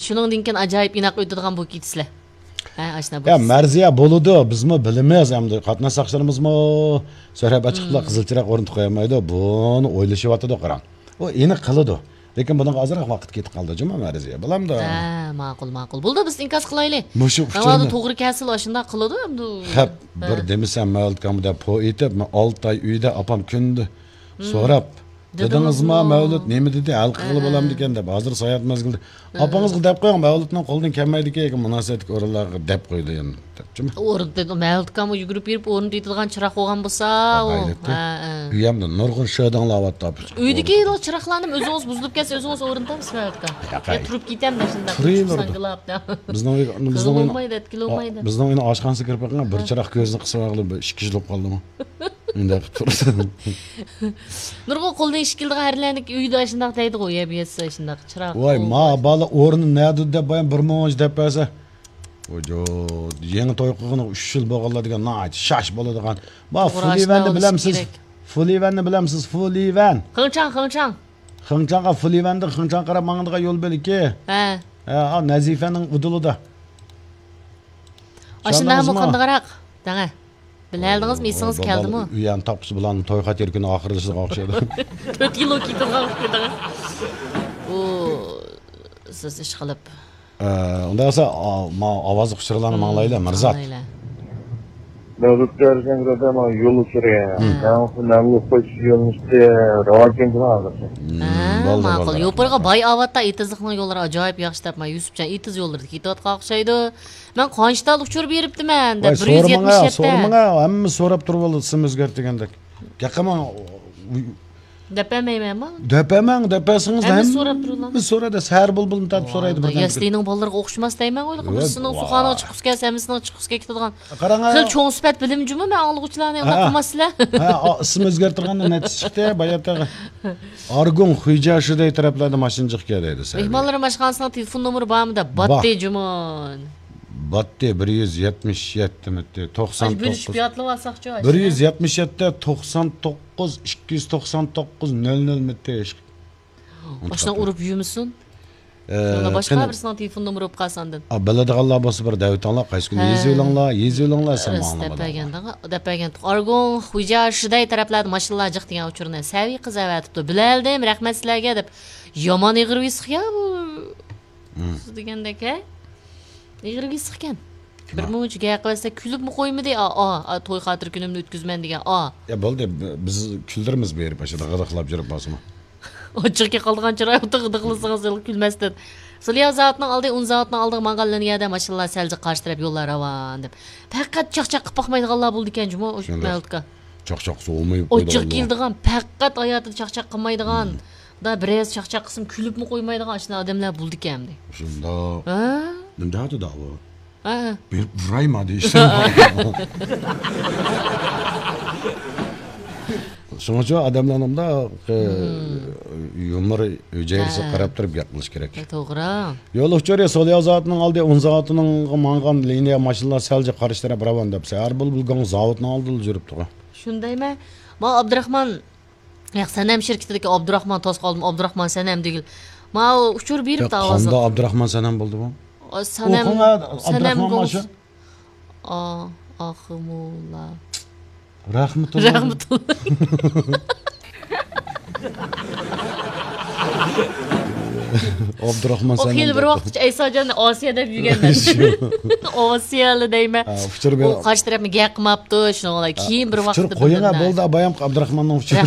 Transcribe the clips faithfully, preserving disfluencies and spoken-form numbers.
شۇنىڭدىن كېيىن ئاجايىپ ئىناق ئۆتىدىغان بولۇپ كېتىسىلەر. ھە، ئاشۇنداق يا بولىسىز. مەرزىيە، بولىدۇ، بىزمۇ بىلىمىز، ئەمدى قاتناش ساقچىلىرىمىزمۇ سۆھبەت ئاچىقىپلا قىزىل چىراغ ئورنىتىپ قويالمايدۇ، بۇنى ئويلىشىۋاتىدۇ، قاراڭ. ئۇ ئېنىق قىلىدۇ. لېكىن بۇنىڭغا ئازراق ۋاقىت كېتىپ قالدى جۇمۇ، مەرزىيە. بولامدۇ؟ ھە، ماقۇل، ماقۇل. بولدى، بىز ئىنكاس قىلايلى. مۇشۇ ئۇچۇرنى توغرا كەلسىلا ئاشۇنداق قىلىدۇ، ئەمدى. خەپ، بىر دېمىسەم، مەۋلۇت ئاكامغا دەپ پو ئېيتىپ، مەن ئالتە ئاي ئۆيدە ئاپام كۈندە سوراپ، دېدىڭىزما، مەۋلۇت نېمە دېدى، ھەل قىلغىلى بولامدىكەن دەپ، ھازىر ساياھەت مەزگىلىدە. ئاپىڭىزغا دەپ قويۇڭ، مەۋلۇتنىڭ قولىدىن كەلمەيدىكەن، مۇناسىۋەتلىك ئورۇنلارغا دەپ قويىدۇ يەنە، دەپچىمۇ. ئورۇن دېدى، مەۋلۇت ئاكامغا يۈگۈرۈپ بېرىپ ئورۇن دېيىدىغان چىراغ بولغان بولسا، ئۇ. ھە، ھە. ئۆيەمدە نۇرغۇن شۆ داڭلاۋاتتى. ئۆيدىكى چىراغلارنى ئۆزىڭىز بۇزۇلۇپ كەتسە، ئۆزىڭىز ئورنىتامسىز مەۋلۇت ئاكا؟ ياق، يا تۇرۇپ كېتەمدە شۇنداق. تۇرۇۋېرىدۇ. بىز نوڭ ئاينىڭ ئاشخانىسىغا كىرىپ بېقىڭ، بىر چىراغ كۆزىنى قىسىپ ئالغىلى، بىر ئىككى يىل بولۇپ قالدىمۇ. ئۇنداق قىلىپ تۇرىدۇ. نۇرغۇن قولدىن ئىش كېلىدىغان ئەرلەرنىڭ ئۆيىدە ئاشۇنداق دەيدىغۇ، يە بىيەتسە ئاشۇنداق چىراغ. ۋاي، ما بالا ئورنى نەدە دەپ بايام بىر مۇنچە دەپ بەرسە. ۋاجو، يېڭى توي قىلغىنىغا ئۈچ يىل بولغانلار دېگەن ناھايىتى شاش بولىدىغان. ما، فۇلىۋەننى بىلەمسىز؟ فۇلىۋەننى بىلەمسىز؟ فۇلىۋەن. خېڭچاڭ، خېڭچاڭ. خېڭچاڭغا، فۇلىۋەندىن خېڭچاڭغا قاراپ ماڭىدىغان يول بۆلىكى. ھە. ھە، ئا، نەزىفەنىڭ ئۇدۇلىدا. ئاشۇنداقمۇ قاندىقراق؟ دەڭە. بىلەلدىڭىزمۇ، ئېسىڭىز كەلدىمۇ؟ ئۇيان تاپقۇچى بۇلارنىڭ توي خاتىرە كۈنى ئاخىرلىشىدىغان ئوخشايدۇ. تۆت يىل بولۇپ كېتىدىغان ئوخشايدىغان. ئۇ، سىز ئىش قىلىپ. ئە، ئۇنداق بولسا، ئا، ما، ئاۋازلىق ئۇچۇرلارنى ماڭلايلى، مىرزات. ماڭلايلى. مەۋلۇت كەرزەنگىردە مانا يول ئۇچۇرى. مەۋلۇت قويۇش يۆنىلىشى راۋاجلاندى ھازىرچە. ھە، بولدى، ماقۇل. بولدى. يوپۇرغا باي ئاۋاتتا ئېتىزلىقنىڭ يوللىرى ئاجايىپ ياخشى دەپ، ما، يۈسۈپجان ئېتىز يوللىرىدا كېتىۋاتقان ئوخشايدۇ. مەن قانچە تال ئۇچۇر بېرىپتىمەن دەپ، بىر يۈز يەتمىش يەتتە. سورىماڭا، ھەممە سوراپ تۇرۇۋالىدۇ، ئىسىم ئۆزگەرتىدىغاندەك. گەپ قىلماڭ. دەپ بەرمەيمەنمۇ؟ دەپ بەرمەڭ، دەپ بەرسىڭىز ھەممە سوراپ تۇرىدۇ. ھەممە سورايدۇ، سەھەر بۇلبۇلنى تارتىپ سورايدۇ بىردەم. يەسلىنىڭ بالىلىرىغا ئوخشىماس دەيمەن، ئۇلار. بىرسىنىڭ ئۇخانىغا چىققۇسى كەلسە، ھەممىسىنىڭ چىققۇسى كېلىپ كېتىدىغان. قاراڭ، خېلى چوڭ سۈپەت بىلىم جۇمۇ، مەن ئاڭلىغۇچىلارنى ئۇنداق قىلماسسىلەر. ھە، ئىسىم ئۆزگەرتىدىغاندا نەتىجە چىقتى، باياتاغا. ئارگۇڭ، خۇيجيا شىدەي تەرەپلەردە ماشىنا جىق كەل دەيدۇ. مېھمانلار ئاشخانىسىنىڭ تېلېفون نومۇرى بارمۇ دەپ. باتتى جۇمۇن. باتتى، بىر يۈز يەتمىش يەتتە مىتى، توقسان توققۇز. بىر يۈز يەتمىش يەتتە، توقسان توققۇز، ئىككى يۈز توقسان توققۇز، نۆل نۆل مىتى. ئاشۇنى ئۇرۇپ يۈرمىسۇن. ئە، يەنە باشقا بىرسىنىڭ تېلېفون نومۇرى بولۇپ قالسا ئاندىن. ئا، بىلىدىغانلار بولسا بىر دەۋېتىڭلار، قايسى كۈنى يېزىۋېلىڭلار، يېزىۋېلىڭلار، سەن ماڭا دەپ بەرگەن. ئارگۇڭ، خۇيجيا شىدەي تەرەپلەردە ماشىنىلار جىق دېگەن ئۇچۇرنى سەۋىي قىز ئەۋەتىپتۇ. بىلەلدىم، رەھمەت سىلەرگە دەپ. يامان ئېغىر ۋىسخىيا بۇ. سىز دېگەندەك، ھە؟ ئېغىر ۋىسخىكەن. بىر مۇنچە گەپ قىلسا كۈلۈپمۇ قويمىدى، ئا، ئا، ئا، توي خاتىرە كۈنۈمنى ئۆتكۈزىمەن دېگەن، ئا. يا بولدى، ب-، بىز كۈلدۈرىمىز بېرىپ، ئاشۇنداق غىدىقلاپ يۈرۈپ بولسىمۇ. ئاچچىقى قالغان چىرايلىق غىدىقلىسىڭىز كۈلمەستىن. سولياۋ زاۋۇتىنىڭ ئالدى، ئۇن زاۋۇتىنىڭ ئالدىغا ماڭغان لىنىيەدە ماشىنىلار سەل جىق قارشى تەرەپ يوللار راۋان دەپ. پەقەت چاقچاق قىلىپ باقمايدىغانلار بولىدىكەن جۇمۇ، ئۇ مەۋلۇتكا. چاقچاق قىلسا بولمايدۇ. ئاچچىقى كېلىدىغان، پەقەت ھاياتىدا چاقچاق قىلمايدىغان. دا بىرەرسى چاقچاق قىلسىمۇ كۈلۈپمۇ قويمايدىغان ئاشۇنداق ئادەملەر بولىدىكەن ئەمدى. شۇنداق. ھە؟ نېمە دەۋاتىدۇ ئۇ؟ ھە. بېرىپ ئۇرايما دېيىشتى. شۇنىڭ ئۈچۈن ئادەملەرنىڭ مۇنداق، ئە، يۇمۇر ھۈجەيرىسىگە قاراپ تۇرۇپ گەپ قىلىش كېرەك. توغرا. يول ئۇچۇرى، سولياۋ زاۋۇتىنىڭ ئالدى، ئۇن زاۋۇتىنىڭغا ماڭغان لىنىيە ماشىنىلار سەل جىق قارشى تەرەپ راۋان دەپ، سەھەر بۇلبۇل گاڭ زاۋۇتنىڭ ئالدىدا يۈرۈپتۇغۇ. شۇندايمۇ؟ ما ئابدۇراخمان، ياق، سەنەم شىركىتىدىكى ئابدۇراخمان توسۇپ قالدىم، ئابدۇراخمان سەنەم دېگىلى. ماۋۇ ئۇچۇر بېرىپتۇ ئاۋازلىق. قاندا ئابدۇراخمان سەنەم بولدىمۇ؟ ئا، سەنەم، ئۇ قاڭا سەنەم ئابدۇراخمان گوڭ-، ماشۇ؟ ئا، ئاخمۇلا. رەھمىتۇللا. رەھمىتۇللا. ئابدۇراخمان سەنەم. ئۇ خېلى بىر ۋاقىتقىچە ئەيساجاننى ئاسىيە دەپ يۈرگەن. ئاسىيەلا دەيمەن. ھە، ئۇچۇر بېرىڭ. ئۇ قارشى تەرەپنى گەپ قىلماپتۇ، شۇنىڭ بىلەن كېيىن بىر ۋاقىتتا قويۇڭ، بىلدىم مەن. بولدى، بايام ئابدۇراخماننىڭ ئۇچۇرى.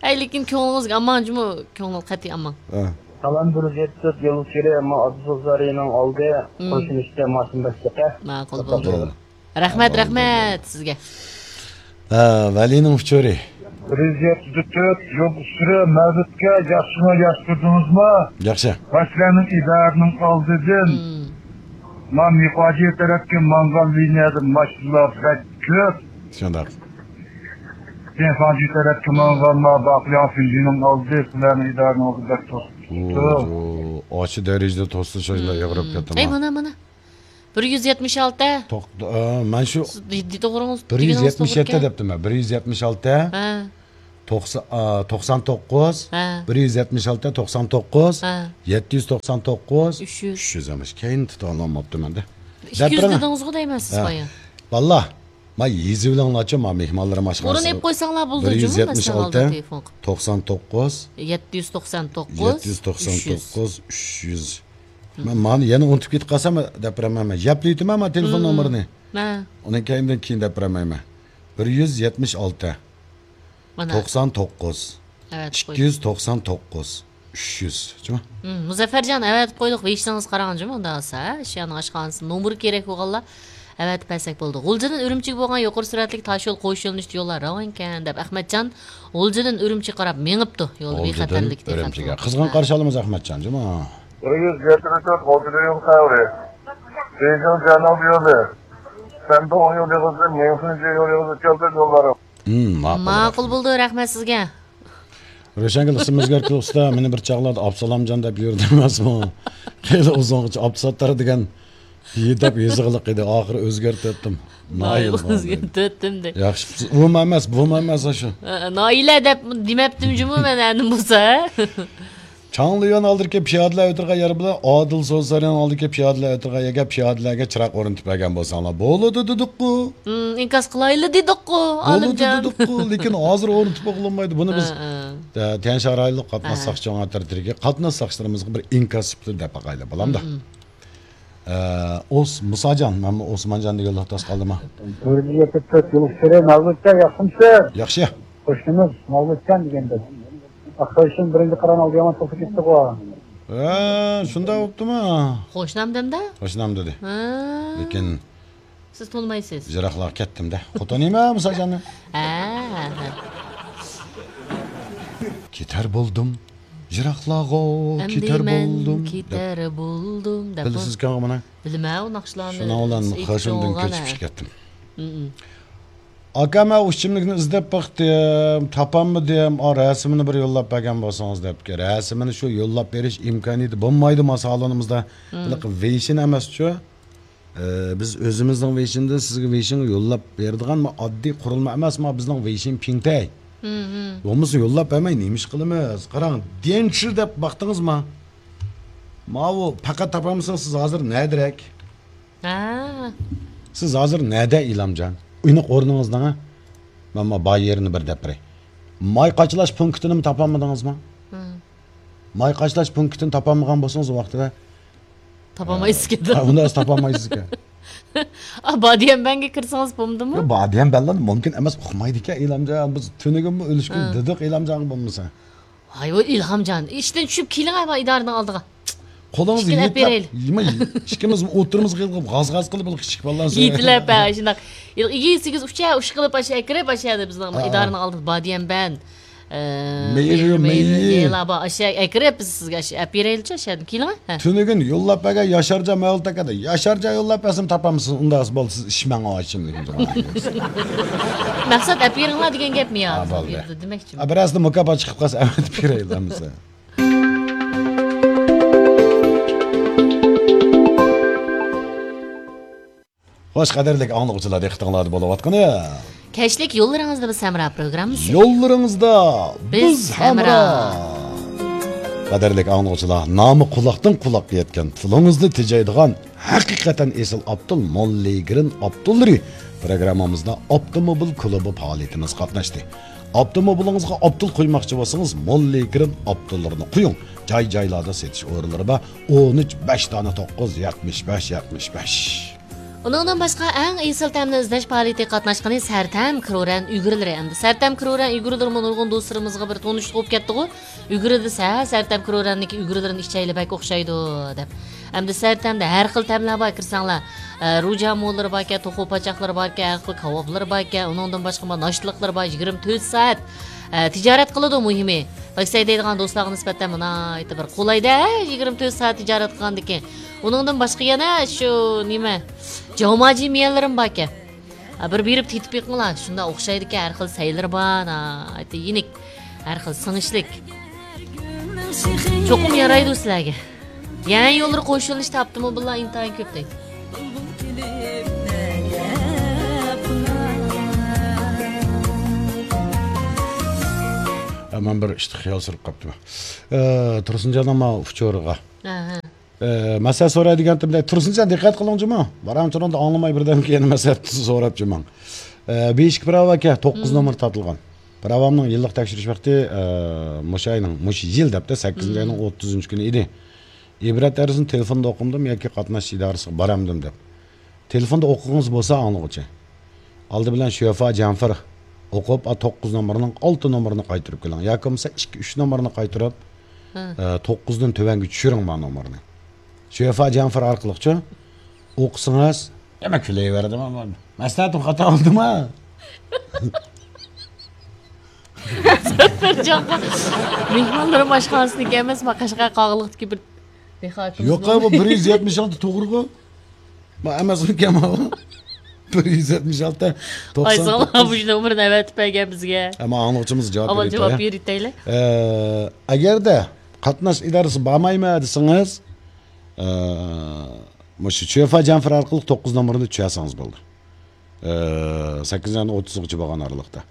ئەي، لېكىن كۆڭلىڭىزگە ئامان جۇمۇ، كۆڭلىڭىز قەتئىي ئامان. ھە. سالام، بىر يۈز يەتتە تۆت يول ئۇچۇرى، ئەمما ئابدۇسوز زارىنىڭ ئالدى، قوشنىسىدە ماشىنا بەشلىقى. ماقۇل بولدى. رەھمەت، رەھمەت سىزگە. ھە، ۋەلىنىڭ ئۇچۇرى. بىر يۈز يەتتە تۆت يول ئۇچۇرى، مەۋلۇتكە ياخشىمۇ، ياخشى تۇردىڭىزمۇ؟ ياخشى. باشلارنىڭ ئىدارىنىڭ ئالدىدىن، ما مىخاجى تەرەپكە ماڭغان لىنىيەدە ماشىنىلار بەك كۆپ. شۇنداق. جېنفاڭجى تەرەپكە ماڭغان ما باقلياڭ فىنجىنىڭ ئالدى، سىلەرنىڭ ئىدارىنىڭ ئالدى بەك توسۇپ تۇرۇپتۇ. ئاشۇ دەرىجىدە توسسا، شۇ يەردە ئېغىرىپ كېتىمەن. ئەي، مانا، مانا. بىر يۈز يەتمىش ئالتە. توق-، ئە، مەن شۇ سىز دېدى توغرىڭىز بىر يۈز يەتمىش يەتتە دېگىنىڭىز توغرا ئىكەن. دەپتىمەن. بىر يۈز يەتمىش ئالتە. ھە. توقسان، ئا، توقسان توققۇز، ھە. بىر يۈز يەتمىش ئالتە، توقسان توققۇز، ھە. يەتتە يۈز توقسان توققۇز، ئۈچ يۈز. ئۈچ يۈز ئەمەس. كەينىنى تۇتالماپتىمەن دە. ئىككى يۈز دەپ بېرىڭە. دېدىڭىزغۇ دەيمەن سىز ھە. بايا. باللا، ما يېزىۋېلىڭلارچۇ، ما مېھمانلىرىم ئاشخانىسى. ئورۇن ئېلىپ قويساڭلار بولىدۇ، بىر يۈز يەتمىش ئالتە، جۇمۇ، مەسىلەن، ئالدىن تېلېفون قىلىپ. توقسان توققۇز، يەتتە يۈز توقسان توققۇز، يەتتە يۈز توقسان توققۇز، ئۈچ يۈز. ئۈچ يۈز. مەن مانى يەنە ئۇنتۇپ كېتىپ قالسام، دەپ بېرەلمەيمەن. يەپلىۋېتىمەن ما تېلېفون مم. نومۇرىنى. ھە. ئۇنىڭ كەينىدىن كېيىن دەپ بېرەلمەيمەن. بىر يۈز يەتمىش ئالتە، مانا. توقسان توققۇز، ئەۋەتىپ قويدۇم. ئىككى يۈز توقسان توققۇز، ئۈچ يۈز. جۇمۇ. مم، مۇزەففەرجان، ئەۋەتىپ قويدۇق. ۋېيشىڭىزگە قاراڭ، جۇمۇ، ئۇنداق بولسا، ھە؟ شيانىڭ ئاشخانىسى نومۇرى كېرەك بولغانلار ئەۋەتىپ بەرسەك بولىدۇ. غۇلجىدىن ئۈرۈمچىگە بولغان يۇقىرى سۈرئەتلىك تاشيول قوش يۆنىلىشتە يوللار راۋانكەن، دەپ ئەخمەتجان غۇلجىدىن ئۈرۈمچىگە قاراپ مېڭىپتۇ. يولدا غۇلجىدىن بىخەتەرلىك دېگەن ئۈرۈمچىگە. خەۋەر. قىزغىن ھە. قارشى ئالىمىز ئەخمەتجان، جۇمۇ. بىر يۈز يەتتە تۆت غۇلجىدىن يول خەۋىرى. بېيجىڭ جيەناۋ يولى. سەندۇڭ يول يېغىزى، مىڭفېنجى يول يېغىزى كەلدى يوللار. مم، ماقۇل، ماقۇل رەھمەت. بولدى، رەھمەت سىزگە. روشەنگۈل، ئىسمىمنى ئۆزگەرتىپ ئۇستا، مېنى بىر چاغلاردا ئابسالامجان دەپ يۈردى ئەمەسمۇ؟ خېلى ئۇزۇنغىچە ئابدۇساتتار دېگەن دەپ يېزىقلىق ئىدى، ئاخىرى ئۆزگەرتىۋەتتىم. نايىل نايىل قالدى. ئۆزگەرتىۋەتتىم دە. ياخشى، ئۇمۇ ئەمەس، بۇمۇ ئەمەس، شۇ. ئە، نائىلە دەپ دېمەپتىم جۇمۇ مەن ئەندىن بولسا. چاڭليۈەن ئالدىدىكى پىيادىلەر ئۆتىدىغان يەر بىلەن ئادىل سودا سارىيىنىڭ ئالدىدىكى پىيادىلەر ئۆتىدىغان يەرگە پىيادىلەرگە چىراغ ئورنىتىپ بەرگەن بولساڭلار بولىدۇ دېدۇققۇ. ھىم، ئىنكاس قىلايلى دېدۇققۇ، بولىدۇ ئالىمجان. دېدۇققۇ، لېكىن ھازىر ئورنىتىپ بولۇنمايدۇ. بۇنى بىز، ھە، ھە. ئە، تيەنشان رايونلۇق قاتناش ھە. ساقچى ئاڭا تەرىپىدىكى قاتناش ساقچىلىرىمىزغا بىر ئىنكاس سۈپىتىدە دەپ باقايلى، بولامدۇ؟ ھىم، ھىم. ئە، ئوس-، مۇساجان، مەنمۇ ئوسمانجان دېگەنلەر تاس قالدىما؟ بىر يۈز يەتتە تۆت يىل ئىچىدە مەۋلۇتجان ياخشىمۇسىز؟ ياخشى. قوشنىمىز مەۋلۇتجان دېگەندەك. ئاخشام بىرىنچى قىران ئالدى يامان توختىپ كەتتىغۇ. ھە، شۇنداق بوپتۇما؟ قوشنام دەمدە؟ قوشنام دېدى. ھە. لېكىن سىز تونۇمايسىز. يىراقلارغا كەتتىم-دە. قوتانىما مۇساجاننى؟ ھە، ھە. كېتەر بولدۇم. يىراقلارغا ئەمدى كېتەر مەن بولدۇم. كېتەر بولدۇم دەپ بىلىسىزكەنغۇ مانا؟ بىلىمەن ئۇ ناخشىلارنى. شۇنىڭ بىلەن خېشۇمدىن كۆچۈپ چىقىپ كەتتىم. ئاكا، مەن ئۇ ئىچىملىكنى ئىزدەپ باقتىم، تاپالمىدىم. ئا، رەسىمىنى بىر يوللاپ بەرگەن بولسىڭىز دەپتىكەن. رەسىمىنى شۇ يوللاپ بېرىش ئىمكانىيىتى بولمايدۇ ما سالونىمىزدا. ھېلىقى ۋېيشىن ئەمەسچۇ؟ ئە، بىز ئۆزىمىزنىڭ ۋېيشىنىدا سىزگە ۋېيشىنغا يوللاپ بېرىدىغان ما ئاددىي قۇرۇلما ئەمەس، ما بىزنىڭ ۋېيشىن پىڭتەي. بولمىسا يوللاپ بەرمەي نېمە ئىش قىلىمىز؟ قاراڭ، ديەنشى دەپ باقتىڭىزما؟ ماۋۇ پەقەت تاپالمىسىڭىز سىز ھازىر نەدىرەك؟ ھە. سىز ھازىر نەدە، ئىلھامجان؟ ئېنىق ئورنىڭىزنىڭ، ھە؟ مەن ما بار يېرىنى بىر دەپ بېرەي. ماي قاچىلاش پونكىتىنىمۇ تاپالمىدىڭىزمۇ؟ ھىم. ماي قاچىلاش پونكىتىنى تاپالمىغان بولسىڭىز، ئۇ ۋاقتىدا تاپالمايسىزكەن. ھە، ئۇنداق تاپالمايسىزكەن. ئا، بادىيەنبەنگە كىرسىڭىز بولمىدىمۇ؟ ياق، بادىيەنبەنلەر مۇمكىن ئەمەس، ئۇقمايدىكەن، ئىلھامجان. بىز تۈنۈگۈنمۇ ئۈلۈشكۈن ھە. دېدۇق ئىلھامجانغا بولمىسا. ھاي، ۋاي، ئىلھامجان، ئىشتىن چۈشۈپ كېلىڭە، ئىدارىنىڭ ئالدىغا. قولىڭىزنى ئىككىنى ئېلىپ يېتىلەپ، بېرەيلى. يېمە، ئىككىمىز ئوتتۇرىمىزغا يېتىلىپ، غاز-غاز قىلىپ، بىر كىچىك بالىلار سۆزى. يېتىلەپ، ھە، شۇنداق. ئىگىسىگىز ئۇچا، ئۇش قىلىپ، ئاشۇ ئەكىرىپ، ئاشۇ يەردە بىزنىڭ ھە. ئىدارىنىڭ ئالدىدا بادىيەنبەن. ئە، مېيى، مېيى، مېيى. مېيىلار بار. ئاشۇ ئەكىرىپ، بىز سىزگە ئاشۇ ئەپ بېرەيلىچۇ، ئاشۇ يەردىن كېلىڭە. ھە. تۈنۈگۈن يوللاپ بەرگەن ياشارجان مەۋلۇت ئاكا دە. ياشارجان يوللاپ بەرسىمۇ تاپامسىز، ئۇنداق بولسا سىز ئىشمەڭ ئاشۇندىن. مەقسەت ئەپ بېرىڭلار دېگەن گەپمۇ يا؟ ھە، بولدى. دېمەكچىمەن. ھە، بىرەرسىدە مۇكاپات چىقىپ قالسا ئەۋەتىپ بېرەيلى ئەمىسە. خوش، قەدىرلىك ئاڭلىغۇچىلار، دىققىتىڭلاردا بولۇۋاتقىنى. كەچلىك يوللىرىڭىزدا بىز ھەمراھ پروگراممىسى. يوللىرىڭىزدا بىز بىز ھەمراھ. ھەمراھ. قەدىرلىك ئاڭلىغۇچىلار، نامى قۇلاقتىن قۇلاققا يەتكەن، تىلىڭىزنى تېجەيدىغان ھەقىقەتەن ئېسىل ئابدۇل موللىگرىن ئابدۇللىرى پروگراممىمىزدا ئاپتوموبىل كۇلۇبى پائالىيىتىمىزگە قاتناشتى. ئاپتوموبىلىڭىزغا ئابدۇل قويماقچى بولسىڭىز، موللىگرىن ئابدۇللىرىنى قويۇڭ. جاي-جايلاردا سېتىش ئورۇنلىرى بار. ئون ئۈچ، بەش دانە توققۇز، يەتمىش بەش، يەتمىش بەش. ئۇنىڭدىن باشقا، ئەڭ ئېسىل تەمنى ئىزدەش پائالىيىتىگە قاتناشقىنى سەرتەم كرورەن ئۈگرىلىرى. ئەمدى سەرتەم كرورەن ئۈگرىلىرىمۇ نۇرغۇن دوستلىرىمىزغا بىر تونۇشلۇق بولۇپ كەتتىغۇ. ئۈگرىدە سە-، سەرتەم كرورەننىڭكى ئۈگرىلىرىنى ئىچەيلى، بەك ئوخشايدۇ، دەپ. ئەمدى سەرتەمدە ھەر خىل تەملەر بار، كىرسەڭلار. ئە، روجامۇلىرى باركەن، توخۇ پاچاقلىرى باركەن، ھەر خىل كاۋاپلىرى باركەن، ئۇنىڭدىن باشقا ناشتىلىقلىرى بار، يىگىرمە تۆت سائەت، ئە، تىجارەت قىلىدۇ مۇھىمى. تاكسى ھەيدەيدىغان دوستلارغا نىسبەتەن ناھايىتى بىر قولايدە، ھە، يىگىرمە تۆت سائەت تىجارەت قىلغاندىكىن. ئۇنىڭدىن باشقا يەنە شۇ نېمە، جاۋماجى مىيەنلىرىمۇ باركەن. ھە، بىر بېرىپ تېتىپ بېقىڭلار، شۇنداق ئوخشايدىكەن، ھەر خىل سەيلىرى بار، ناھايىتى يېنىك، ھەر خىل سىڭىشلىك. چوقۇم يارايدۇ سىلەرگە. يەنە يوللىرى قوشۇلۇشتا ئاپتوموبىللار ئىنتايىن كۆپ دەيدۇ. مەن بىر ئىشتا خىيال سۈرۈپ قاپتىمەن. ئە، تۇرسۇنجاننىڭ ماۋۇ ئۇچۇرىغا. ئە، مەسىلە سوراي دېگەنتىمدە، تۇرسۇنجان دىققەت قىلىڭچۇما. بارام چۇرۇڭدا ئاڭلىماي بىردەمكە يەنە مەسلىھەت سوراپچۇ ماڭ. ئە، بىر ئىككى پىراۋا ئاكا، توققۇز نومۇر تارتىلغان. پىراۋامنىڭ يىللىق تەكشۈرۈش ۋاقتى، ئە، مۇشۇ ئاينىڭ، مۇشۇ يىل دەپتۇ، سەككىزىنچى ئاينىڭ ئوتتۇزىنچى كۈنى ئىدى. ئىبرەت ئەرزىنى تېلېفوندا ئوقۇمدىم ياكى قاتناش ئىدارىسىغا بارامدىم دەپ. تېلېفوندا ئوقۇغىڭىز بولسا ئاڭلىغۇچى. ئالدى بىلەن شۆفا جەنفىر ئوقۇپ، ئا، توققۇز نومۇرنىڭ ئالتە نومۇرىنى قايتۇرۇپ كېلىڭ. ياكى بولمىسا ئىككى، ئۈچ نومۇرنى قايتۇرۇپ، ھە. ئە، توققۇزدىن تۆۋەنگە چۈشۈرۈڭ ما نومۇرنى. شۆفا جەنفىر ئارقىلىقچۇ ئوقۇسىڭىز، دېمەك، كۈلەيۋەردىم، مەسلىھەتىم خاتا بولدىما؟ مۇزەففەرجانغا مېھمانلىرىم ئاشخانىسىنىڭكى ئەمەس، ما قەشقەر قاغىلىقتىكى بىر دېھقانىمىز يوق، بۇ بىر يۈز يەتمىش ئالتە توغرىغۇ. ما ئەمەسمىكەن ما بۇ؟ بىر يۈز يەتمىش ئالتە، توقسان توققۇز. ئايسالا، مۇشۇ نومۇرنى ئەۋەتىپ بەرگەن بىزگە. ئەمما ئاڭلىغۇچىمىز جاۋاب ئاۋۋال جاۋاب بېرىۋېتەيلى. ئە، ئەگەردە قاتناش ئىدارىسى بارمايمەن دېسىڭىز، ئە، مۇشۇ شۆفا جەنفىر ئارقىلىق توققۇز نومۇرنى چۈشەرسىڭىز بولدى. ئە، سەككىزىنچى ئاينىڭ ئوتتۇزىغىچە بولغان ئارىلىقتا.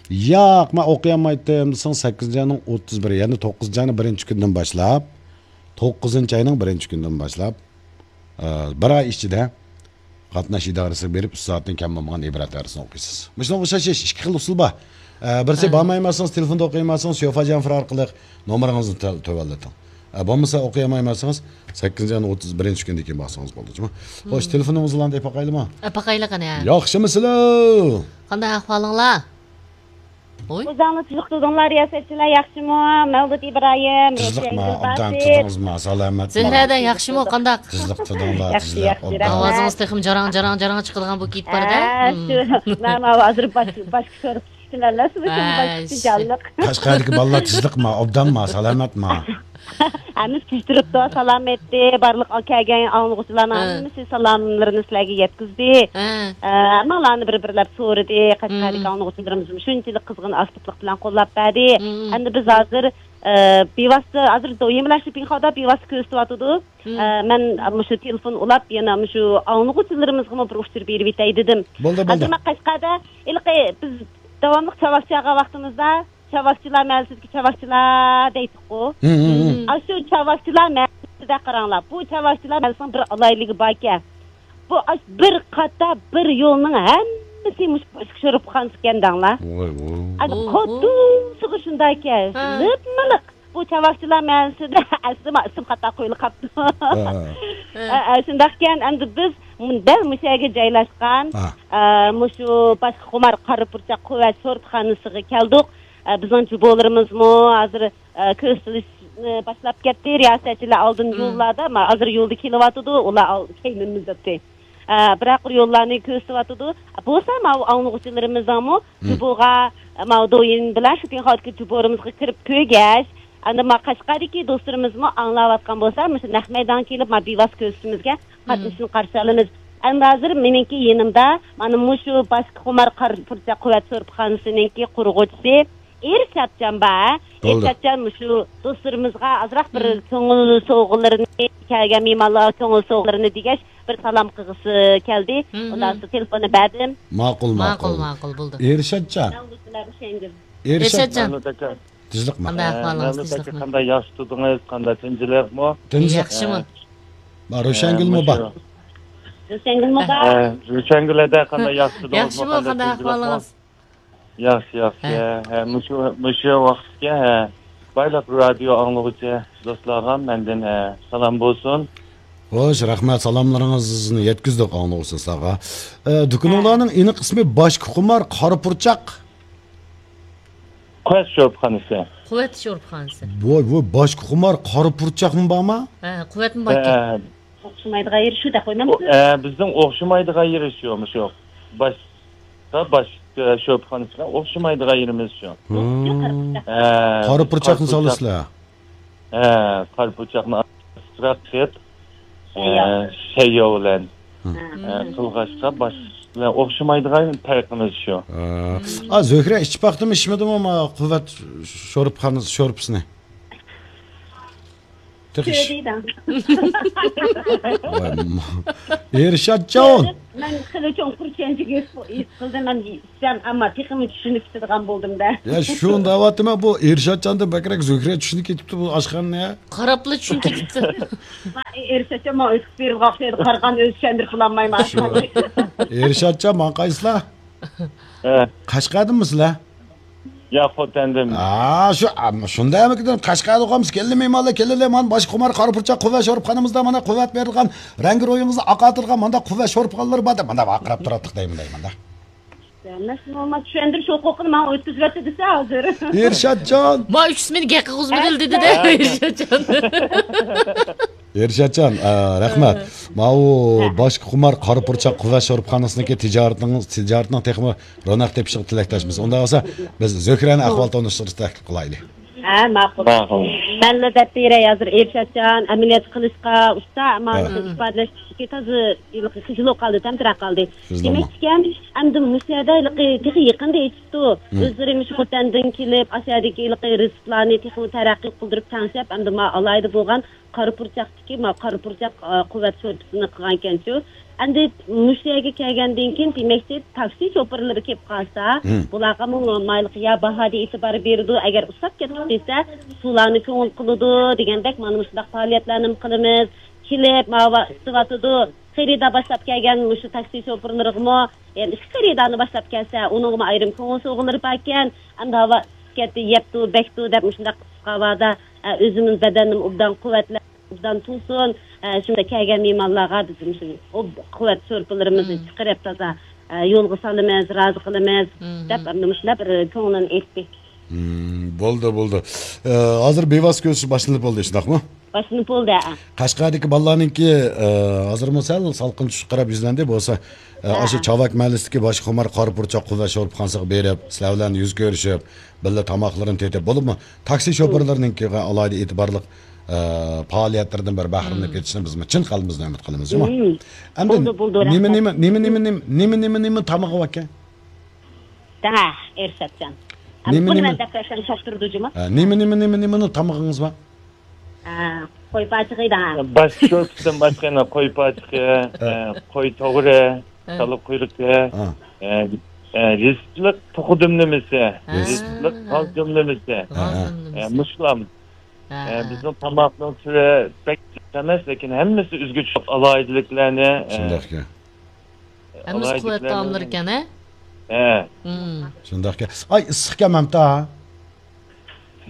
ياق، مەن ئوقۇيالمايتتىم دېسىڭىز، سەككىزىنچى ئاينىڭ ئوتتۇز بىرى، يەنى توققۇزىنچى ئاينىڭ بىرىنچى كۈنىدىن باشلاپ، توققۇزىنچى ئاينىڭ بىرىنچى كۈنىدىن باشلاپ، ئە، بىر ئاي ئىچىدە قاتناش ئىدارىسىگە بېرىپ، ئۈچ سائەتتىن كەم بولمىغان ئىبرەت ئەرزىنى ئوقۇيسىز. مۇشۇنىڭغا ئوخشاش ئىككى خىل ئۇسۇل بار. ئە، بىرسى، ھە، بارمايمەنسىڭىز، تېلېفوندا ئوقۇيمەنسىڭىز، شۆفا جەنفىر ئارقىلىق نومۇرىڭىزنى تۆ-، تۆۋەنلىتىڭ. ئە، بولمىسا ئوقۇيالمايمەنسىڭىز، سەككىزىنچى ئاينىڭ ئوتتۇز بىرىنچى كۈنىدىن كېيىن بارسىڭىز بولدى، جۇمۇ. خوش، تېلېفونىڭىزنى ئالاي دەپ باقايلىمۇ؟ ئە، باقايلى قېنى. ياخشىمۇسىلەر؟ قانداق ئەھۋالىڭلار؟ ۋوي. ئۆزۈڭلار تۇزۇق تۇردۇڭلار، رىياسەتچىلەر ياخشىمۇ؟ مەۋلۇت ئىبراھىم، تۇزۇقما، روشەن ئوبدان گۈلباسىت. تۇردىڭىزما، سالامەتما؟ زۆھرەدە ياخشىمۇ، قانداق؟ تۇزۇق تۇردۇڭلار، ياخشى، تۇزۇق، ياخشى، ئوبدان. رەھمەت. ئاۋازىڭىز تېخىمۇ جاراڭ، جاراڭ، جاراڭ چىقىدىغان بولۇپ كېتىپ بارىدۇ. ھە، شۇ، مانا ھازىر باش، باش كۆرۈپ چۈشتىم، ھەممىسى باشقا جانلىق. قەشقەردىكى بالىلار تۇزۇقما، ئوبدانما، سالامەتما؟ ھەممىسى تىز تۇرۇپتۇ، سالامەتتى. بارلىق كەلگەن ئاڭلىغۇچىلارنىڭ ھە. ھەممىسى سالاملىرىنى سىلەرگە يەتكۈزدى. ھە. ئە، ھەممىڭلارنى بىر-بىرلەپ سورىدى. قەشقەردىكى ئاڭلىغۇچىلىرىمىزمۇ شۇنچىلىك قىزغىن، ئاكتىپلىق بىلەن قوللاپ بەردى. ئەمدى بىز ھازىر، ئە، بىۋاسىتە، ھازىر دويىن بىلەن شىپىڭخاۋدا بىۋاسىتە كۆرسىتىۋاتىدۇ. ئە، مەن مۇشۇ تېلېفون ئۇلاپ، يەنە مۇشۇ ئاڭلىغۇچىلىرىمىزغىمۇ بىر ئۇچۇر بېرىۋېتەي دېدىم. بولدى، بولدى. ھازىر مەن قەشقەردە، ھېلىقى بىز داۋاملىق چاۋاك چالغان ۋاقتىمىزدا، چاۋاكچىلار مەھەللىسىدىكى چاۋاكچىلار دەيتتۇققۇ. ھە، ھە، ھە. ئاشۇ چاۋاكچىلار مەھەللىسىدە قاراڭلار. بۇ چاۋاكچىلار مەھەللىسىنىڭ بىر ئالاھىدىلىكى باركەن. بۇ ئاش-، بىر قاتا بىر يولنىڭ ھەممىسى مۇشۇ باشقا شورپىخانىسىكەن دەڭلار. ۋاي، ۋاي. ئەنە ئوھو. قاتتىق سۇغۇ شۇنداكەن. ھە. لىپمىلىق. بۇ چاۋاكچىلار مەھەللىسىدە ئەسلىمۇ ئىسىم خاتا قويۇلۇپ قاپتۇ. ھە، ھە. ھە، ھە، شۇنداقكەن. ئەمدى بىز مۇ-، دەل مۇشۇ يەرگە جايلاشقان، ھە. ئە، مۇشۇ باشقا خۇمار قارا پۇرچاق قۇۋۋەت شورپىخانىسىغا كەلدۇق. ئە، بىزنىڭ جۇبولىرىمىزمۇ ھازىر، ئە، كۆرسىتىلىشنى باشلاپ كەتتى. رىياسەتچىلەر ئالدىن يوللاردا، ما-، ھازىر يولدا كېلىۋاتىدۇ، ئۇلار ئال-، كەينىمىزدە. ئە، بىراق يوللارنى كۆرسىتىۋاتىدۇ. بولسا ماۋۇ ئاڭلىغۇچىلىرىمىزنىڭمۇ جۇبوغا، ماۋۇ دويىن بىلەن شۇ پىنخاۋدىكى جۇبورىمىزغا كىرىپ كۆرگەچ، ئەنە ما قەشقەردىكى دوستلىرىمىزمۇ ئاڭلاۋاتقان بولسا، مۇشۇ نەق مەيدانغا كېلىپ، ما بىۋاسىتە كۆرسىتىشىمىزگە قاتنىشىشنى قارشى ئالىمىز. ئەمدى ھازىر مېنىڭكى يېنىمدا مانا مۇشۇ باشقا خۇمار قارا پۇرچاق قۇۋۋەت شورپىخانىسىنىڭكى قۇرغۇچىسى ئېرشاتجان بار. بولدى. ئېرشاتجان مۇشۇ دوستلىرىمىزغا ئازراق بىر كۆڭۈل سوۋغىلىرىنى، كەلگەن مېھمانلارغا كۆڭۈل سوۋغىلىرىنى دېگەچ، بىر سالام قىلغۇسى كەلدى. ئۇنداق بولسا تېلېفوننى بەردىم. ماقۇل، ماقۇل، ماقۇل. ماقۇل، بولدى. ئېرشاتجان. ئېرشات. ئېرشاتجان. مەملۇت ئاكا. تىنچلىقمۇ؟ قانداق ئەھۋالىڭىز، مەملۇت ئاكا، تىنچلىقمۇ؟ قانداق، ياخشى تۇردىڭىز؟ قانداق، تىنچلىقمۇ؟ تىنچلىق. ياخشىمۇ؟ ما روشەنگۈلمۇ بار؟ روشەنگۈلمۇ بار؟ روشەنگۈل ھەدە، قانداق، ياخشى تۇردىڭىزمۇ؟ ياخشىمۇ، قانداق، قانداق تىنچلىقمۇ؟ ئەھۋالىڭىز؟ ياخشى، ياخشى. ھە. ھە، مۇشۇ، مۇشۇ ۋاقىتقا، ھە، بايلىق رادىيو ئاڭلىغۇچى دوستلارغا مەندىن، ھە، سالام بولسۇن. خوش، رەھمەت، سالاملىرىڭىزنى يەتكۈزدۇق ئاڭلىغۇچىلارغا. ئە، دۇكىنىڭلارنىڭ ئېنىق ئىسمى باشقا خۇمار قارا پۇرچاق. قۇۋۋەت شورپىخانىسى. قۇۋۋەت شورپىخانىسى. ۋاي، ۋاي، باشقا خۇمار قارا پۇرچاقمۇ بارما؟ ھە، قۇۋۋەتمۇ باركەن. ھە. ئوخشىمايدىغان يېرى شۇ دەپ قويمامسىز؟ ئۇ، ئە، بىزنىڭ ئوخشىمايدىغان يېرى شۇ، مۇشۇ. باشقا، باشقا شورپىخانىسى بىلەن ئوخشىمايدىغان يېرىمىز شۇ. ھە، قارا پۇرچاقنى سالىسىلەر. ھە، قارا پۇرچاقنى ئازراق قىلىپ، ئە، شەيياۋ بىلەن، ئە، قىلغاچقا باشقا بىلەن ئوخشىمايدىغان پەرقىمىز شۇ. ھە. ئا، زۆھرە ئىچىپ باقتىمۇ، ئىچمىدىمۇ ما قۇۋۋەت شورپىخانىسى، شورپىسىنى؟ تېخى ئىش. كۆردى دەڭ. ۋاي، ما-، ئېرشاتجان. مەن خېلى چوڭقۇر چۈشەنچە ھېس قىلدىم، مەن ئىچسەم، ئەمما تېخىمۇ چۈشىنىپ كېتىدىغان بولدۇم-دە. يا، شۇنى دەۋاتىمەن، بۇ ئېرشاتجاندىن بەكرەك زۆھرە چۈشىنىپ كېتىپتۇ بۇ ئاشخانىنى. قاراپلا چۈشىنىپ كېتىپتۇ. ئېرشاتجان ماڭا ئۆتۈپ بېرىپ قالسا ئىدى، قارىغان ئۆزى چۈشەندۈرۈپ بولالمايمەن. شۇ. ئېرشاتجان، ماڭا قايسىلار؟ ھە. قەشقەردىنمۇ سىلەر؟ ياق، خوتەندىن. ھا، شۇ، ئەمما شۇنداق ئەمەكىدىن قەشقەردە ئوقۇمىز، كەلدى مېھمانلار، كەلدى، مانا باشقا خۇمار قارا پۇرچاق قۇۋۋەت شورپىخانىمىزدا، مانا قۇۋۋەت بېرىدىغان، رەڭگى روھىڭىزنى ئاقارتىدىغان مانداق قۇۋۋەت شورپىخانىلىرى بار دەپ، مانداق ۋارقىراپ تۇراتتۇق دەيمەن، دەيمەن. مەن شۇنىڭغا چۈشەندۈرۈش ھوقۇقىنى ماڭا ئۆتكۈزۈۋەتتى دېسە ھازىر. ئېرشاتجان! ما ئۈچ ئىسمىنى گەپ قىلغۇزمىدىل دېدى-دە، ھە. ئېرشاتجان. ئېرشاتجان، ئە، رەھمەت. ھە. ماۋۇ ھە. باشقا خۇمار قارا پۇرچاق قۇۋۋەت شورپىخانىسىنىڭكى تىجارىتىنىڭ، تىجارىتىنىڭ تېخىمۇ روناق تېپىشىغا تىلەكداشمىز. ئۇنداق بولسا، بىز زۆھرەنى ئەھۋال تونۇشتۇرۇشنى تەكلىپ قىلايلى. ھە، ماقۇل. ماقۇل. مەنلا دەپ بېرەي ھازىر، ئېرشاتجان ئەمەلىيەت قىلىشقا ئۇستا، ئەمما ھە. ئىپادىلەشتىكى تازا خىجىل بولۇپ قالدى، تەمتىرەپ قالدى. خىجىل دېمەكچىكەن، ئەمدى مۇشۇ يەردە ھېلىقى تېخى يېقىندا ئېيتىپتۇ. ھە. ئۆزلىرى مۇشۇ خوتەندىن كېلىپ، ئاشۇ يەردىكى ھېلىقى رېتسېپلارنى تېخىمۇ تەرەققىي قىلدۇرۇپ تەڭشەپ، ئەمدى ما ئالاھىدە بولغان قارا پۇرچاقتىكى، ما قارا پۇرچاق، ئا، قۇۋۋەت شورپىسىنى قىلغانىكەنچۇ. ئەمدى مۇشۇ يەرگە كەلگەندىن كېيىن، دېمەكچى، تاكسى شوپۇرلىرى كېلىپ قالسا، ھىم. بۇلارغا مۇ-، مايلىق يا باھادا ئېتىبار بېرىدۇ، ئەگەر ئۇسساپ كەتتۇق دېسە، سۇلارنى كۆڭۈل قىلىدۇ دېگەندەك، مانا مۇشۇنداق پائالىيەتلەرنىمۇ قىلىمىز. كېلىپ، ماۋۇ ئىسسىۋاتىدۇ. خېرىدار باشلاپ كەلگەن مۇشۇ تاكسى شوپۇرلىرىغىمۇ، يەنە ئىككى خېرىدارنى باشلاپ كەلسە، ئۇنىڭغىمۇ ئايرىم كۆڭۈل سوۋغىلىرى باركەن. ئەمدى ھاۋا ئىسسىپ كەتتى، يەپتۇ، بەكتۇ دەپ مۇشۇنداق قىسقا ھاۋادا، ئە، ئۆزىمىز بەدەننى ئوبدان قۇۋۋەتلەپ، ئوبدان تۇرسۇن. ئە، شۇنداق كەلگەن مېھمانلارغا بىز مۇشۇ ئوب-، قۇۋۋەت شورپىلىرىمىزنى مم. چىقىرىپ تازا، ئە، يولغا سالىمىز، رازى قىلىمىز مم. دەپ، ئەمدى مۇشۇنداق بىر كۆڭلىنى ئېيتتى. مم، بولدى، بولدى. ئە، ھازىر بىۋاسىتە كۆرۈشۈش باشلىنىپ بولدى، شۇنداقمۇ؟ باشلىنىپ بولدى، ھە. قەشقەردىكى بالىلارنىڭكى، ئە، ھازىرمۇ سەل سالقىن چۈشۈپ قاراپ يۈزلەندى. بولسا، ئە، ھە، ئاشۇ ھە. چاۋاك مەھەللىسىدىكى باشقا خۇمار قارا پۇرچاق قۇۋۋەت شورپىخانىسىغا بېرىپ، سىلەر بىلەن يۈز كۆرۈشۈپ، بىللە تاماقلىرىنى تېتىپ، بولۇپمۇ تاكسى شوپۇرلىرىنىڭكىغا ئالاھىدە ئېتىبارلىق، ئە، پائالىيەتلىرىدىن بىر بەھرىلىنىپ مم. كېتىشىنى بىزمۇ چىن قەلبىمىزدىن ئۈمىد قىلىمىز، جۇمۇ. مم. ئەمدى بولدى، بولدى، نېمە، رەھمەت. نېمە، نېمە، نېمە، نېمە، نېمە، نېمە تامىقى باركەن؟ دەڭە، ئېرشاتجان. نېمە، بۇنى نېمە؟ مەن دەپ بەرسەم چاقتۇرىدۇ جۇمۇ. ھە، نېمە، نېمە، نېمە، نېمىنىڭ تامىقىڭىز بار؟ ھە، قوي پاچىقى دەڭە. باش شورپىسىدىن باشقا يەنە قوي پاچىقى، ھە. ئە، قوي توغرى، ھە. كالا قۇيرۇقى، ھە. ئە، ئە، رېتسېپلىق توخۇ دۈملىمىسى. ھە. رېتسېپلىق غاز دۈملىمىسى. غاز ھە. دۈملىمىسى. ئە، مۇشۇلام. ھە، ئە، ھە. بىزنىڭ تاماقنىڭ تۈرى بەك جىق ئەمەس، لېكىن ھەممىسى ئۆزگىچە ئالاھىدىلىكلەرنى، ئە، شۇنداقكەن. ھەممىسى قۇۋۋەت تائاملىرى ئىكەن، ھە؟ ھە. مم. شۇنداقكەن. ئاي، ئىسسىقكەن مەمتا.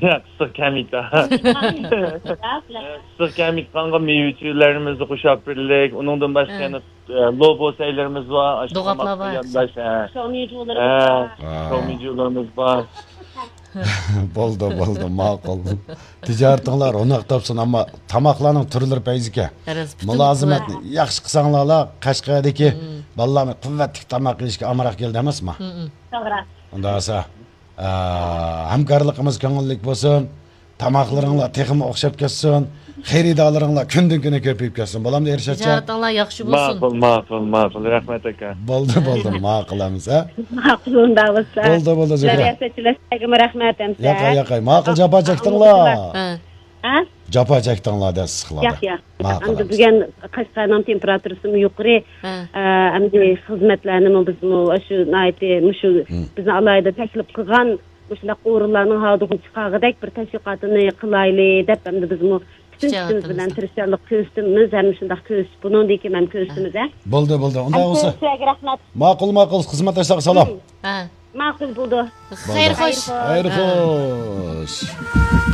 ياق، ئىسسىق كەمىتى. ئىسسىق كەمىتقانغا مېۋە چۆلەرنىمىزنى قوشاپ بېرىلىك. ئۇنىڭدىن باشقا ھە. يەنە، ئە، لوبو سەيلىرىمىز بار. ئاشۇ دوغاپلار تاماققا بار. يانداش، ھە. شاۋمىجۇلىرىمىز ھە. بار. ھە. شاۋمىجۇلىرىمىز بار. بولدى، بولدى، ماقۇل. تىجارىتىڭلار روناق تاپسۇن، ئەمما تاماقلارنىڭ تۈرلىرى پەيزىكەن. راست، پۈتۈن مۇلازىمەتنى قۇۋۋەت. ياخشى قىلساڭلارلا، قەشقەردىكى مم. بالىلارمۇ قۇۋۋەتلىك تاماق يېيىشكە ئامراق كېلىدۇ ئەمەسمۇ؟ مم. توغرا. ئۇنداق بولسا، ئە، ھەمكارلىقىمىز كۆڭۈللۈك بولسۇن. تاماقلىرىڭلار تېخىمۇ ئوخشاپ كەتسۇن. خېرىدارلىرىڭلار كۈندىن كۈنگە كۆپىيىپ كەتسۇن. بولامدۇ، ئېرشاتجان؟ تىجارىتىڭلار ياخشى بولسۇن. ماقۇل، ماقۇل، ماقۇل. رەھمەت، ئاكا. بولدى، بولدى. ماقۇل ئەمىسە. ماقۇل، ئۇنداق بولسا. بولدى، بولدى، زۆھرە. سۆزلەشلەرگىمۇ رەھمەت ئەمىسە. ياقاي، ياقاي. ماقۇل، جاپا چەكتىڭلار. ھە. ھە؟ جاپا چەكتىڭلار دە ئىسسىقلاردا. ياق، ياق. ماقۇل ئەمدى ئەمىسە. بۈگۈن قەشقەرنىڭ تېمپېراتۇرىسىمۇ يۇقىرى. ھە. ئە، ئەمدى خىزمەتلەرنىمۇ بىزمۇ شۇ ناھايىتى مۇشۇ مم. بىزنى ئالاھىدە تەكلىپ قىلغان مۇشۇنداق ئورۇنلارنىڭ ھالىدىغۇ چىقارغۇدەك بىر تەشۋىقاتىنى قىلايلى دەپ، ئەمدى بىزمۇ پۈتۈن كۈچىمىز بىلەن تىرىشچانلىق كۆرسىتىمىز، ھەم شۇنداق كۆرسىتىپ، بۇنىڭدىن كېيىن ھەم كۆرسىتىمىز، ھە. بولدى، بولدى. ئۇنداق بولسا. سىلەرگە رەھمەت. ماقۇل، ماقۇل. خىزمەتداشلارغا سالام. ھە. ماقۇل بولدى. خەير خوش. خەير خوش.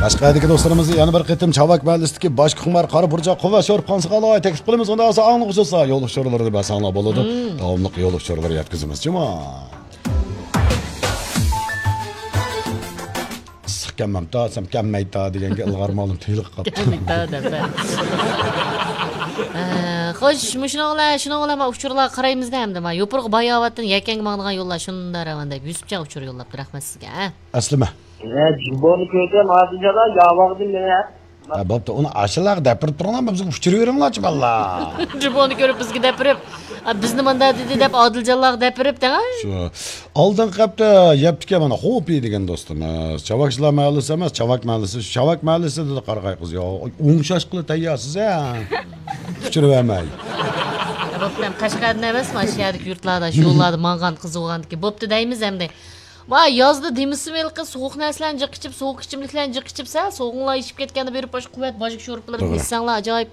قەشقەردىكى دوستلىرىمىزنى يەنە بىر قېتىم چاۋاك مەھەللىسىدىكى باشقا خۇمار قارا پۇرچاق قۇۋۋەت شورپىخانىسىغا ئالاھىدە تەكلىپ قىلىمىز. ئۇنداق بولسا ئاڭلىغۇچىلار يول ئۇچۇرلىرىنى بەرسەڭلار بولىدۇ. مم. داۋاملىق يول ئۇچۇرلىرى يەتكۈزىمىز، جۇما. ئىسسىق كەممەمتا، سەم كەممەيتا دېگەنگە ئىلغار مالىم تېيىلىپ قاپتۇ. كەممەيتا دەپ، ھە. ئە، خوش، مۇشۇنىڭ بىلەن، شۇنىڭ بىلەن ما ئۇچۇرلارغا قارايمىز-دە ئەمدى. ما يوپۇرغا باياۋاتتىن يەكەنگە ماڭىدىغان يوللار شۇنداق راۋان دەپ يۈسۈپجان ئۇچۇر يوللاپتۇ. رەھمەت سىزگە، ھە. ئەسلىمە. ھە، جۇمبونى كۆردۈم، ھازىرجادا ياۋاغدىن مېنە. ھە، بوپتۇ، ئۇنى ئاشۇلارغا دەپ بېرىپ تۇرۇڭلار، بىزگە ئۇچۇر بېرىڭلارچۇ، بالىلار. جۇمۇنى كۆرۈپ بىزگە دەپ بېرىپ، «ئا، بىزنى مۇنداق دېدى» دەپ ئادىلجانلارغا دەپ بېرىپ دەڭ. شۇ ئالدىنقى ھەپتە يەپتىكەن مانا خوپى دېگەن دوستىمىز. چاۋاكچىلار مەھەللىسى ئەمەس، چاۋاك مەھەللىسى. شۇ چاۋاك مەھەللىسى دېدى قارىغاي قىز. يا، ئوڭشاشقىلى تەييارسىز ھە. ئۇچۇر بەرمەي. بوپتۇ، قەشقەردىن ئەمەسمۇ، ئاشۇ يەردىكى يۇرتلاردا، شۇ يوللاردا ماڭغان قىز بولغاندىكىن. بوپتۇ دەيمىز ئەمدى. ۋاي، يازدا دېمىسىمۇ ھېلىقى سوغۇق نەرسىلەرنى جىق ئىچىپ، سوغۇق ئىچىملىكلەرنى جىق ئىچىپ، سەن سوغۇڭلار ئېشىپ كەتكەندە بېرىپ باشقا قۇۋۋەت باجىك شورپىلىرى توغرا. ئىچسەڭلار ئاجايىپ.